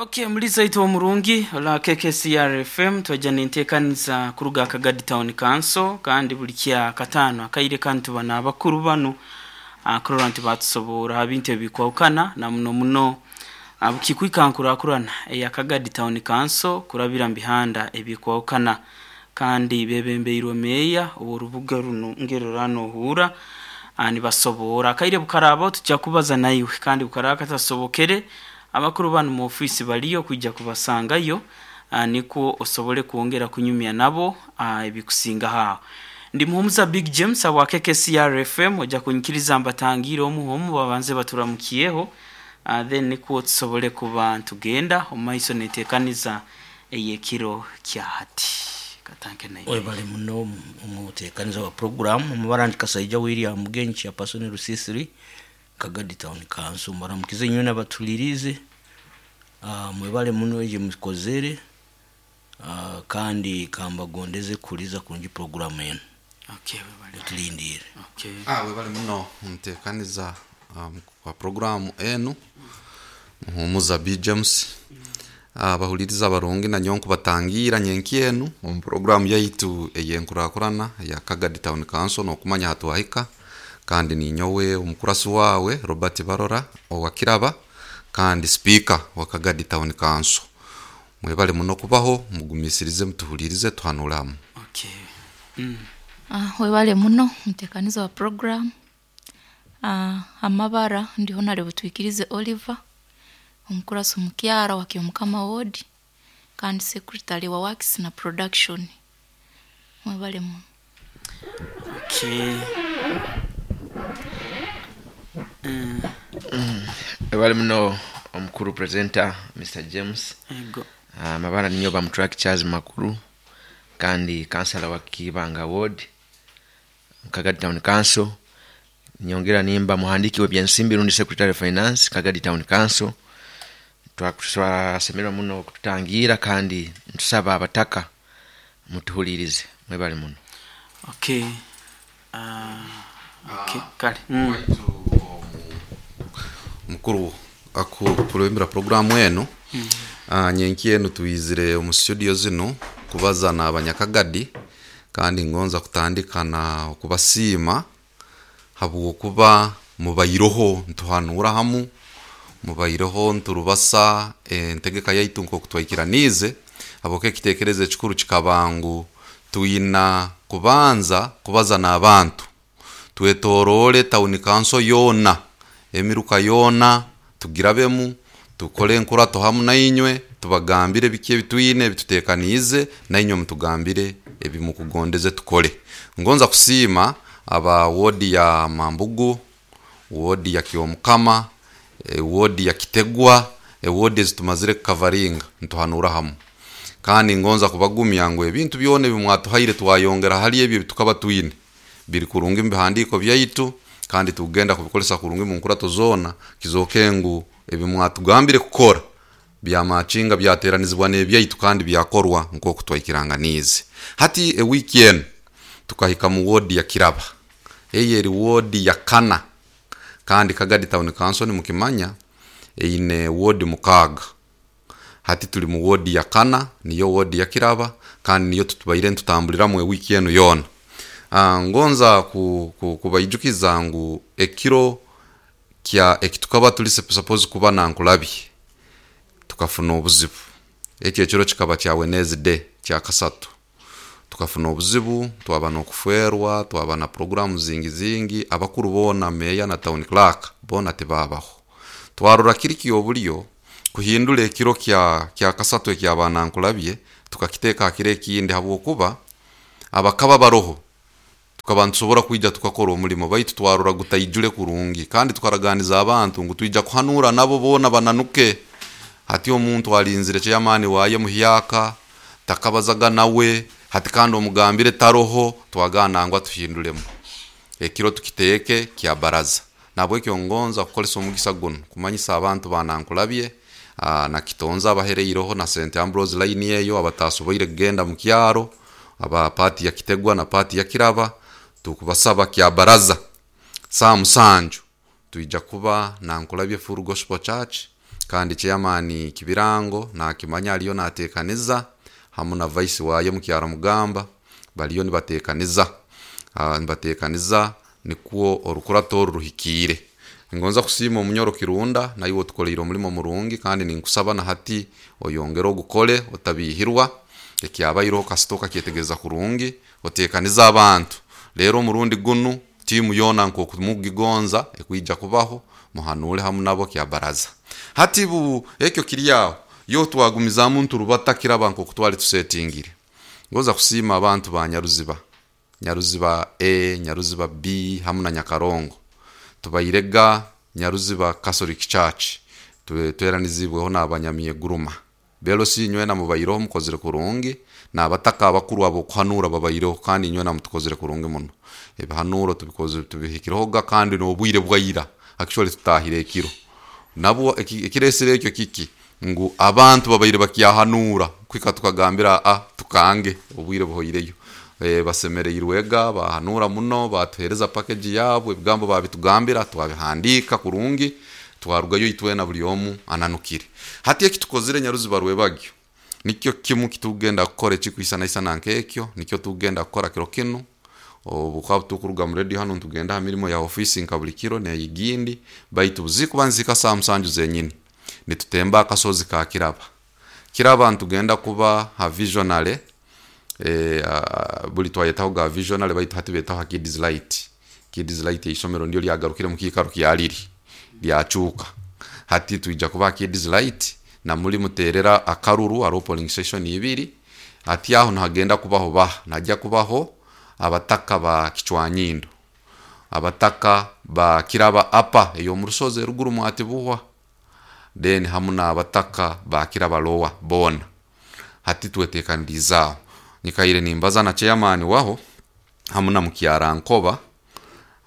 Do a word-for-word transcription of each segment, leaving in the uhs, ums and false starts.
Okay, muliza itwe omurungi ola K K C R F M, twajja nenteekaniza kuruga Kagadi Town Council, kandi buli kya kataano akaire kandi tuba n'abakuru bano kurora nti batusoborra ha bintu ebikwahukana, na muno muno bukikwika nkurakurana eya Kagadi Town Council kurabira mu bihanda ebikwahukana, kandi bebembeirwe meeya ow'orubuga runu ngerora nohuura nibasoborra. Akaire bukaraabaho tujja kubaza naiwe, kandi bukaraba katasobokere, abakuru banu mu ofiisi baliyo kwija kubasangayo nikwo osobole kwongera kunyumya nabo ebikusingaho. Aho ndi Muhumuza Big James abwa K K C R F M. Ojja kunyikiriza mbatangiire omu omu, babanze baturamukiyeho, then nikwo tusobole kuba ntugenda omu maiso nenteekaniza ey'ekiro kya hati. Katanke naiwe. Webale muno omuteekaniza wa program. Omubara ndi Kasaija William Mugenyi, chairperson Rusisiri, Kagadi Town Council. Mbaramukize inywe nabatulirize. uh, mwebale muno egi mukozere, uh, kandi kambagondeze kuliza kurungi program enu. Okay, webale. Tulindire. Okay. Ah, webale muno omuteekaniza um, kwa programu enu, Muhumuza B James. Abahuliriza abarungi, nanyowe nkubatangira nyenki enu omu programu yaitu ey'enkurakurana eya Kagadi Town Council n'okumanya hatwahika, kandi ninyowe omukurasi wawe Robert Barora owa Kiraba kandi speaker wa Kagadi Town Council. Mwebale muno kubaho, mugumisirize, mutuhulirize, tuhanure hamu. Okay. Mm. Ah, webale muno mutekaniza wa program. Ah, amabara ndi Honorable Twikirize Oliver, omukurasi omukyara wa Kyomukama Ward kandi secretary wa works na production. Mwebale muno. Okay. Mm. Webale muno omukuru presenter Mister James. Ego. Amabara ninyo Bamutrak Charles Makuru kandi kansala wa Kibanga Ward, Kagadi Town Council. Nyongera nimba muhandiki w'ebyensimbi rundi secretary of finance, Kagadi Town Council. Twasemerwa muno okututangira kandi ntusaba abataka mutuhulirize. Mwebale muno. Okay. Uh, okay. Kale. Mm. Mukuru akukulembera programu enu, mm. Nyenki enu twizire omu studio zinu kubaza n'abanyakagadi, kandi ngonza kutandika na okubasiima habwokuba mubairoho ntuhanura hamu, mubairoho nturubasa entegeka yaitu nk'oku twaikiraniize, habwokuba ekiteekerezo ekikuru kikaba ngu twina kubanza kubaza n'abantu, twetoroole town council yoona, emiruka yoona tugirabemu, tukole enkurato hamu nainywe, tubagambire biki ebitwine ebituteekaniize, nainywe mutugambire ebimukugondeze tukole. Ngonza kusiima aba wodi ya Mambugu, wodi ya Kyomukama, e, wodi ya Kitegwa, ewodi ezitumazire kukavaringa ntuhanura hamu, kandi ngonza kubagumya ngu ebintu byona ebimwatuhaire twayongera hali ebyo ebitukaba twine biri kurungi mu bihandiiko byaitu, kandi tugenda kubikolesa kurungi mu nkurato zoona, kizooke ngu ebimwatugambire kukora byamakinga byateranizibwa n'ebyaitu kandi byakorwa nk'oku twaikiranganiize. Hati ewiiki enu tukahika mu wodi ya Kiraba, eyo eri wodi ya kana, kandi Kagadi Town Council nimukimanya eine wodi mukaaga. Hati tuli mu wodi ya kana, niyo wodi ya Kiraba, kandi niyo tutubaire ntutambuliramu ewiiki enu yoona. uh, ngonza ku, ku, kubaijukiza ngu ekiro kya ekitukaba tuli suppose kuba nankulabye tukafuna obuzibu. Ekyo ekiro kikaba kya Wednesday, kya kasatu. Tukafuna obuzibu, twaba n'okufwerwa, twaba na programu zingi zingi, abakuru boona, meya na town clerk boona tibabaho. Twarora kiri kyobulyo kuhindura ekiro kya kya kasatu ekyabanankulabye, tukakiteeka hakiro ekindi, habwokuba abakaba baroho tukaba ntusobora kwija tukakora omulimo, baitu twarora gutaijule kurungi, kandi tukaraganiza abantu ngu twija kuhanura nabo boona bananuke. Hati omuntu alinzire chairman waye muhyaka, takabazaga nawe hati, kandi omugambire taroho. Twagana ngwa tuhindulemu ekiro, tukiteeke kya baraza. Nabwekyo ngonza kukolesa omugisa guno kumanyisa abantu banankulabye aa, na Kitonza abahereireho na Saint Ambrose line eyo, abatasoboire kugenda mu kyaro, aba pati ya Kitegwa na pati ya Kiraba, tukubasaba kya baraza saa musanju twija kuba Nankulabye Full Gospel Church. Kandi chairman Kibirango nakimanya aliyo natekaniza hamu na vice wayo mukyaro mugamba baliyo nibatekaniza uh, nibatekaniza nikwo orukurato oru ruhikiire. Ngonza kusiima omunyoro Kirunda, naiwe otukoleire omulimo murungi, kandi ninkusaba na hati oyongere ogukole otabihirwa. Ekyabaireho kasita okakyetegereza kurungi, otekaniza abantu. Rero omurundi gunu tiimu yoona nk'okumugigonza ekwija kubaho, muhanure hamu nabo kya baraza. Hati bu ekyo kiri aho, yo twagumizamu nturubata kiraba nk'oku twali tusetingire. Ngoza kusiima abantu ba Nyaruziba, Nyaruziba A, Nyaruziba B hamu na Nyakarongo. Tubairega Nyaruziba Catholic Church, tweranizibweho n'abanyamyeguruma. Belosi inywena mubaireho mukozire kurungi, n'abataka abakuru abokuhanura babaireho, kandi inywena mutukozire kurungi muno. Ebihanuro tubikoze tubihikirehoga kandi n'obwire bwaira, actually tutahire ekiro. Nabwo ekiresire ekyo kiki ngu abantu babaire bakyahanura kwika tukagambira a tukange obwire buhoireyo. E, basemereirwega bahanura muno, batuhereza package yabo, ebigambo babitugambira twabihandika kurungi, twarugayo itwena buli omu ananukire. Hati ekitukozire Nyaruziba rwebagyo nikyo kimu kitugenda kukora ekikwisanaisana nk'ekyo, nikyo tugenda kukora kiro kinu. Obu tukuruga mu radio hano ntugenda ha mirimo ya ofisi nka buli kiro neyigindi, baitu buzikuba nzika saa musanju zenyini nitutemba akasozi ka Kiraba. Kiraba ntugenda kuba ha visionary, e, uh, buli twayetaho ga visionary, baitu hati betaho ha Kids Light. Kids Light isomero ndio lyagarukire mu kiikaro kyaliri lyacuuka. Hati tuija kuba Kids Light na muri muterera akaruru aro polling station ibiri. Hati aho nahagenda kubaho ba najya kubaho abataka ba Kichwanyindo, abataka ba Kiraba apa eyo mu rusozi ruguru mwatibuhwa, then hamu n'abataka ba Kiraba lowa bona. Hati twetekanirizaho nyikaire nimbaza na chairman waho hamu na mukyara nkoba,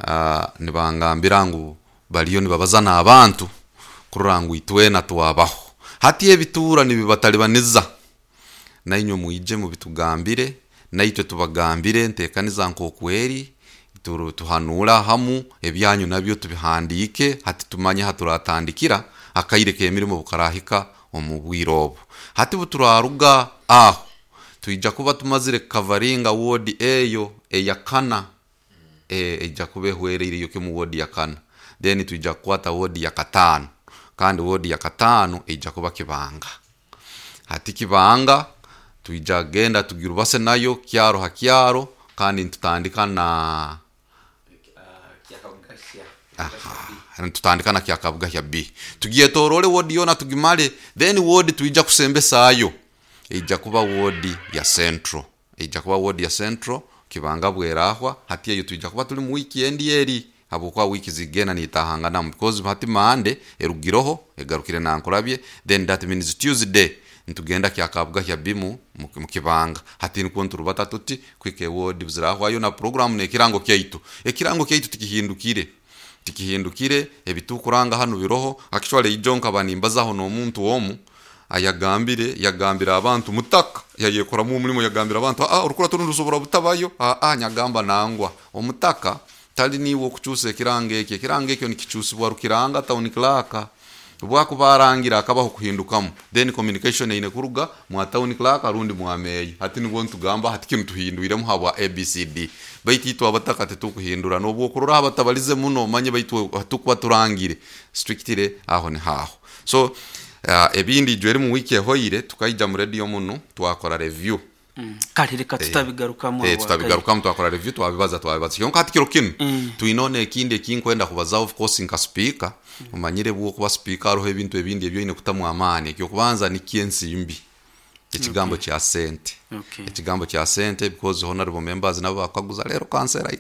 uh, nibangambira ngu baliyo nibabaza n'abantu kurora ngu itwena twabaho. Hati ebitura nibibatalibaniza, nainywe mwije mubitugambire, naitwe tubagambire ntekaniza nkokweri, tuhanura hamu ebyanyu nabyo tubihandike, hati tumanye haturatandikira akaire k'emirimo bukarahika omu bwire obu. Hati buturaruga aho tuija kuba tumazire kavaringa ward eyo eyakana, e, ija kuba ehwereire yo kimu ward ya kana, then tuija kukwata ward ya katano, kandi ward ya katano ija kuba Kibanga. Hati Kibanga tuija genda tugirubase nayo kyaro ha kyaro, kandi ntutandika na aha, tutandika na Kyakabuga ya B, tugiye torole ward yona tugimale, then ward tuija kusembesayo ija kuba ward ya Central, ija kuba ward ya Central Kibanga bwerahwa. Hati eyo tuija kuba tuli mu weekend eri habwokuba wiki zigenda nitahanganamu, because hati Mande erugiroho egarukire nankurabye, then that means Tuesday ntugenda Kyakabuga ya B mu mu Kibanga. Hati nikuo nturubata tuti kwike ward buzirahwayo na program nekirango kyaitu, ekirango kyaitu tikihindukire, tikihindukire ebitukuranga hano biroho. Actually ijo nkaba nimbazaho n'omuntu omu ayagambire, yagambira abantu mutaka yayekoramu omulimo, yagambira abantu ah orukura turusobora butabayo, ah ah nyagamba nangwa omutaka tali niwe okukyusa ekirango ekyo, ekirango ekyo nikikyusibwa rukiranga town clerk bwakuba arangira akabaho kuhindukamu, then communication eine kuruga mwa town clerk rundi mwa meya. Hati nibwo ntugamba hati kinu tuhindwiremu habwa A B C D, baitu itwe abataka tetukuhindura nobwo okurora abatabalize muno manye, baitu hatukuba turangire strictly aho ni haho. So uh, ebindi ijweri mu wiki ehoire tukaija mu radio muno twakora review. Mm. Kale reka tutabigarukamu, eh, tutabigarukamu twakora review, twabibaza twabibaza kyonka hati kiro kinu mm. tuinone ekindi ekinkwenda kubaza, of course nka speaker mm. umanyire bwo kuba speaker aroho ebintu ebindi ebyo ine kutamu amani. Ekyo kubanza ni kiensimbi ekigambo okay. kya sente, okay. Ekigambo kya sente because honorable members nabo bakaguza lero kansera